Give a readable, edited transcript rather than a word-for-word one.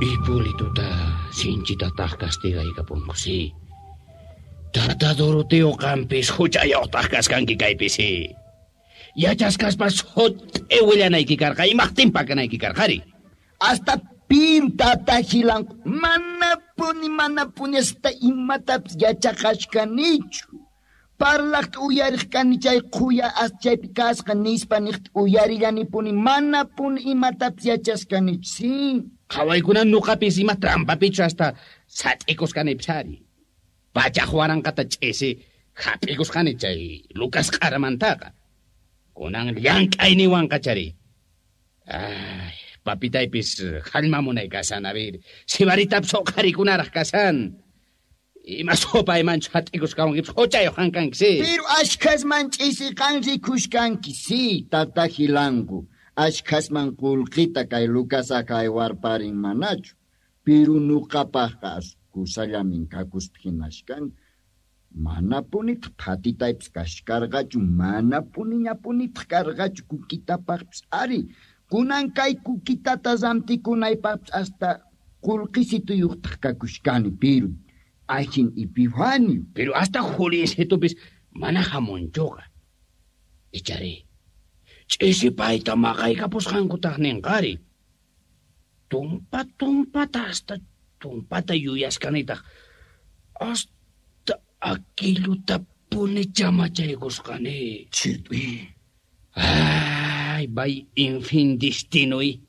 Hipólitota sinchitataj castigaykapunku, sí. Tata Doroteo qampis huchayuqtaq kaskanki kaypi, sí. Yachaskaspa sut'i willanayki karqa, imajtin pakanayki karqari? Hasta piru tata Gilanku manapuni manapuni hasta imatapis yachaqashkanichu. Parlaqta uyariq kani chay qhuya as chaypi kasqa nispa niqta uyarillanipuni manapuni imatapis yachashkanichu, sí. Qhawaykuna nuqapis ima trampapichu hasta sat'ikusqanipis ari. Pachaj waranqata ch'isi hap'ikusqani chay Lucas q'aramantaqa. Kunan llank'ayniwanqa chari. Ay, papitaypis hallmamunay kashan, a ver, sibaritapis uqharikunaraq kashan. Ima supaymanchu hat'ikusqawankipis huchayuq qan kanki, sí. Pero ashkhasman ch'isi qan rikushkanki, sí, tata Gilanku. Ashkhasman qullqita kay Lucasa kaywarparin manachu. Pero nuqapaqqa kusallamin kakuspa hinashkani. Manapunitaq phatitaypis kashkarqachu, manapuniñapunitaq karqachu kukitapaqpis ari. Kunan kay kukitata rantikunaypaqpis hasta qullqisituyuqtaq kakushkani, pero ajin Epifanio. Pero hasta Juliancitupis mana hamunchuqa. Ichari, ch'isi payta maqaykapusqankutaq ninqari. Tumpa tumpata hasta tumpata yuyaskanitaq. Hasta aquillutapuni chamachaykusqani. Chitui. Ay, bay infin destinoi.